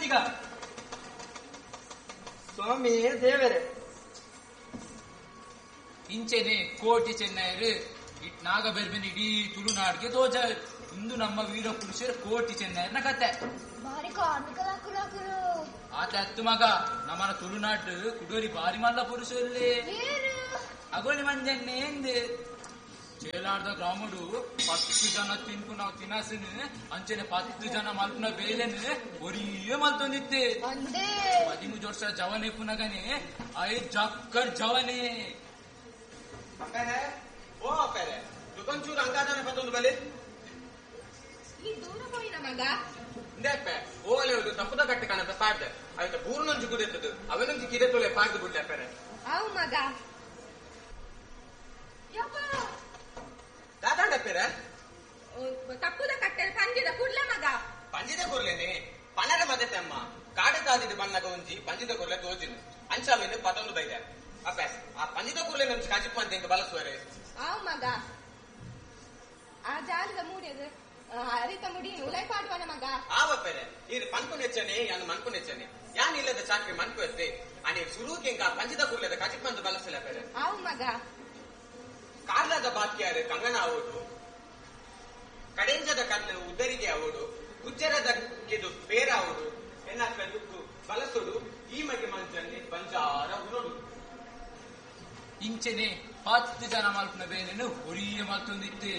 ಮಾದಿಗ ಸ್ವಾಮಿ ದೇವರೇ. ಇಂಚೆನೆ ಕೋಟಿ ಚೆನ್ನೈರು ನಾಗಬೆರ್ಬಿನ ಇಡೀ ತುಳುನಾಡ್ಗೆ ತೋಜ. ಇಂದು ನಮ್ಮ ವೀರ ಪುರುಷರು ಕೋಟಿ ಚೆನ್ನೈರ್ನ ಕತೆ. ಆತ ಅತ್ತು ಮಗ ನಮ್ಮನ ತುಳುನಾಡು ಕುಡೋರಿ ಬಾರಿ ಮಲ್ಲ ಪುರುಷರಲ್ಲಿ ಅಗೋಳಿ ಮಂಜನ್ನೆ ಎಂದ್ ಚೇಲಾರ್ದ ಗ್ರಾಮಡು 10 ಜನ ತಿನ್ಪುನ ತಿನಸುನು ಅಂಚನೆ 10 ಜನ ಮಲ್ಪುನ ಬೇಲೆನು ಒರಿಯೇ ಮಲ್ತೊಂದಿತ್ತೆ. 13 ವರ್ಷ ಜವನೆ ಪುನಗನೆ I ಜಕ್ಕರ್ ಜವನೆ. ಓ ಅಪ್ಪರೆ ದುಕಂಚೂರು ಅಂಗಾದಾನೆ ಪತ್ತೊಂದು ಬಲೆ ಈ ದೂರ ಪೋಯಿನ ಮಗ ಇಂದೆ ಓಲೆ ತಪ್ಪುದ ಕಟ್ಟೆ ಕಾಣದ ಪಾಡ್ದೆ ಆಯ್ತ ಬೂರ್ನೊಂಜಿ ಕುದೆತ್ತದು ಅವನೊಂಜಿ ಕಿರೆ ತೊಲೆ ಪಾಡ್ದು ಬಿಡ್ಲೆ ಅಪ್ಪರೆ. ಅವು ಮಗ ದಾದಾಂಡಪ್ಪೇರ ತಪ್ಪುದ ಕಟ್ಟೆ ಪಂಜಿದ ಕುರ್ಲೆ ಮಗ. ಪಂಜಿದ ಕುರ್ಲೇನೆ ಪನರ ಮದೆ ತಮ್ಮ ಕಾಡು ಕಾದಿದ ಬಣ್ಣಗ ಒಂಜಿ ಪಂಜಿದ ಕುರ್ಲೆ ತೋಜಿನ ಅಂಚಾವೇನು ಪತ್ತೊಂದು ಬೈದೆ ಅಪ್ಪ. ಆ ಪಂಜಿದ ಕುರ್ಲೆ ನಮ್ಗೆ ಕಜಿಪ್ಪು ಅಂತ ಹಿಂಗ ಬಲಸುವರೆ. ಆವು ಮಗ ಆ ಜಾಲದ ಮೂಡಿಯದು ಅರಿತ ಮುಡಿ ಉಲೈ ಪಾಡುವನ ಮಗ. ಆವಪ್ಪರೆ ಇದು ಪನ್ಪು ನೆಚ್ಚನೆ ಯಾನು ಮನ್ಪು ನೆಚ್ಚನೆ ಯಾನ್ ಇಲ್ಲದ ಚಾಕ್ರಿ ಮನ್ಪು ಎತ್ತೆ ಅನಿ ಸುರುಕೆ ಇಂಕ ಪಂಜಿದ ಕುರ್ಲೆದ ಕಜಿಪ್ಪಂದು ಬಲಸಲ ಪೆರೆ. ಆವು ಮಗ ಕಾರ್ಲದ ಬಾಕಿಯಾರು ಕಂಗನ ಆವೋಡು ಕಡೆಂಜದ ಕಣ್ಣು ಉದ್ದರಿಗೆ ಆವೋಡು ಗುಜ್ಜರದ ಕೆದು ಪೇರಾವೋಡು ಎನ್ನಕ್ಕ ದುಕ್ಕು ಬಲಸುಡು ಈ ಮಗೆ ಮಂಜನ್ನಿ ಬಂಜಾರ ಉರುಡು. ಇಂಚೆನೆ 10 ಜನ ಮಲ್ಪುನ ಬೇಲೆನು ಒರಿಯ ಮಲ್ತೊಂದಿತ್ತೆ.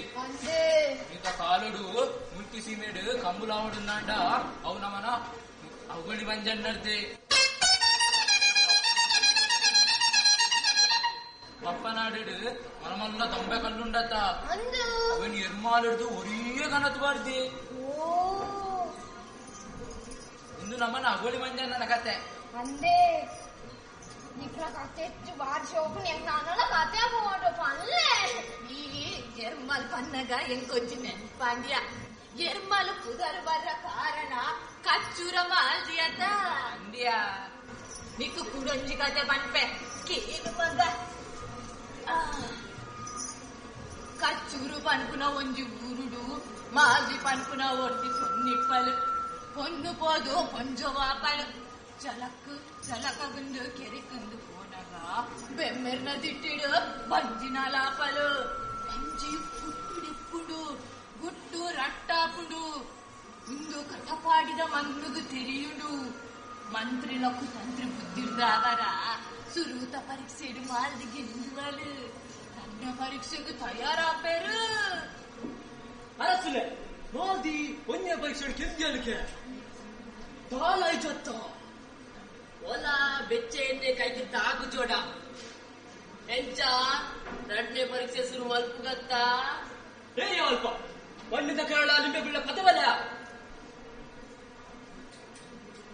ಇಂತ ಕಾಲುಡು ಮುಲ್ಕಿ ಸೀಮೆಡು ಕಂಬುಲಾವಡುಂದಾಂಡ ಅವು ನಮನ ಅವುಗಳಿ ಮಂಜನ್ನರ್ದೆ. ಬಪ್ಪನಾಡು ಮನಮಲ್ಲ ದೊಂಬೆ ಕಲ್ಲುಂಡತ್ತ ಅವನ್ ಎರ್ಮಾಲಿಡ್ದು ಒರಿಯ ಕನತು ಬಾರ್ದಿ. ಇಂದು ನಮ್ಮನ್ನ ಅಗೋಳಿ ಮಂಜನ್ನನ ಕತೆ. ಅಂದೇ ನಿಕ್ಲ ಕತೆ ಹೆಚ್ಚು ಬಾರಿ ಶೋಕು ನಾನಲ್ಲ ಕತೆ ಪೋಡು ಪಲ್ಲೆ. ಈ ಎರ್ಮಲ್ ಪನ್ನಗ ಎಂಕೊಂಚಿ ನೆನ್ಪಾಂಡ್ಯ ಎರ್ಮಲ್ ಪುದರ್ ಬರ್ರ ಕಾರಣ ಕಚ್ಚೂರ ಮಾಲ್ದಿಯತ ಅಂದ್ಯಾ. ನಿಕ್ಕು ಕುಡೊಂಜಿ ಕತೆ ಪನ್ಪೆ ಕೇನು ಮಗ. ಕಚ್ಚೂರು ಪನ್ಪುನ ಒಂಜಿ ಊರುಡು ಮಾಜಿ ಪನ್ಪುನ ಒರ್ತಿ ಸೊನ್ನಿಪ್ಪಲು பொண்ணு போதும் கொஞ்சம் வாப்பாடு ಚಲಕ್ ಚಲಕಗುಂದು ಕೆರೆಕಂದು ಪೋನಾಗ ಬೆಮ್ಮೆರ್ನ ದಿಟ್ಟಿಡು ಬಂಜಿನ ಲಾಪಲು ಬಂಜಿ ಪುಟ್ಟುಡಿಪ್ಪುಡು ಗುಟ್ಟು ರಟ್ಟಾಪುಡು ಇಂದು ಕಟಪಾಡಿದ ಮನ್ನುಗು ತೆರಿಯುಡು ಮಂತ್ರಿಲಕು ತಂತ್ರಿ ಬುದ್ಧಿರ್ದಾವರ ಸುರೂತ ಪರೀಕ್ಷೆಡು ಮಾಲ್ದಿ ಗೆಲ್ಲುವಳು ತನ್ನ ಪರೀಕ್ಷೆಗೂ ತಯಾರಾಪೇರು ಅರಸುಲೆ ಮಾಲ್ದಿ ಒಂದೇ ಪರೀಕ್ಷೆ ಗೆದ್ದಿಯಲಿಕೆ ದಾಲಾಯ್ಚತ್ತ ಓಲಾ ಬೆಚ್ಚೆ ಎಂದೆ ಕೈಗೆ ತಾಗು ಜೋಡ ಎಂಚ ಎರಡನೇ ಪರೀಕ್ಷೆ ಶುರು ಮಲ್ಪುಗತ್ತ ಏ ಅಲ್ಪ ಮಣ್ಣಿನ ಕರಳ ಲಿಂಬೆಗುಳ್ಳ ಪದವಲ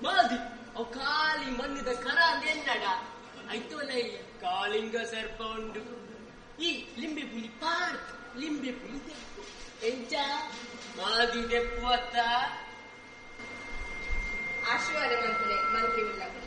ಮಾಲ್ದಿ ಅವು ಖಾಲಿ ಮಣ್ಣಿದ ಕರ ಅಂದೆನ್ನಡ ಐತೋಲ ಕಾಳಿಂಗ ಸರ್ಪ ಉಂಡು ಈ ಲಿಂಬೆ ಪುಲಿ ಪಾರ್ಕ್ ಲಿಂಬೆ ಪುಲಿ ತೆಪ್ಪು ಎಂಚ ಮಾದಿ ತೆಪ್ಪು ಅತ್ತ ಆಶೀರ್ವಾದ ಮಂತ್ರಿ ಮಂತ್ರಿ ಉಳ್ಳಕುಲ.